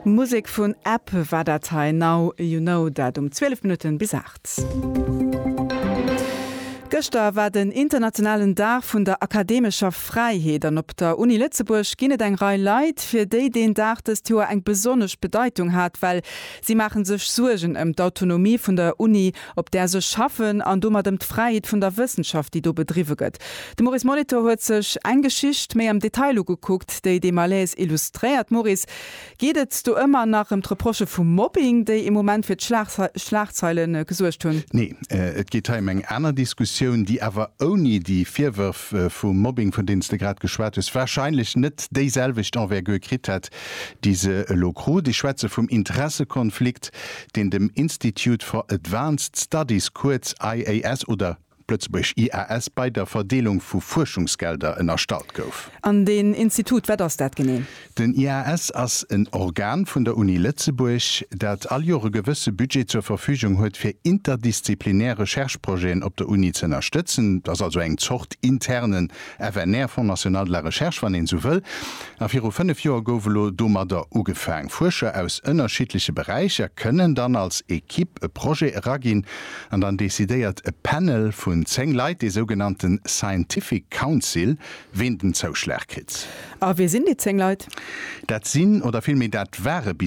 Musek vun App war dat hei, Now You Know, dat um 12 Minutten bis 8. Gëschter war den internationalen Dag vun der akademescher Fräiheet an op der Uni Lëtzebuerg ginn et eng Rei Leit, fir déi deen Dag dëst Joer eng besonnesch Bedeitung hat, well si maache sech Suergen ëm d'Autonomie vun der Uni, op där se schaffen an domat ëm d'Fräiheet vun der Wëssenschaft, déi do bedriwwe gëtt. De Maurice Molitor huet sech eng Geschicht méi am Detail ugekuckt, déi dee Malaise illustréiert. Maurice, Geet et do ëmmer nach ëm d'Reprochë vu Mobbing, déi ee Moment fir d'Schlagzeile gesuergt hunn? Nee, et geet hei ëm eng aner Diskussioun, déi awer ouni déi Virwërf vu Mobbing, vun deenen s de grad geschwat hues, warscheinlech net déiselwecht Envergure kritt hätt, déi se elo krut. Ech schwätze vum Interessekonflikt, deen dem Institute for Advanced Studies, kuerz IAS oder op Lëtzebuergesch IAS, bei der Verdeelung vu Fuerschungsgelder ënnerstallt gouf. An deen Institut, wat ass dat genee? Den IAS ass en Organ vun der Uni Lëtzebuerg, dat all Joer e gewësse Budget zur Verfügung huet, fir interdisziplinär Recherche-Projeten op der Uni ze ënnerstëtzen. Dat ass also eng Zort internen FNR, Fonds national de la recherche, wann een esou wëll. A viru 5 Joer gouf elo domadder ugefaang. Fuerscher aus ënnerschiddleche Beräicher kënnen dann als Equipe e Projet eraginn an dann decidéiert e Panel vun 10 Leit, dee sougenannte Scientific Council, ween den Zouschlag kritt. A wie sinn déi 10 Leit? Dat sinn, oder villméi dat ware bis.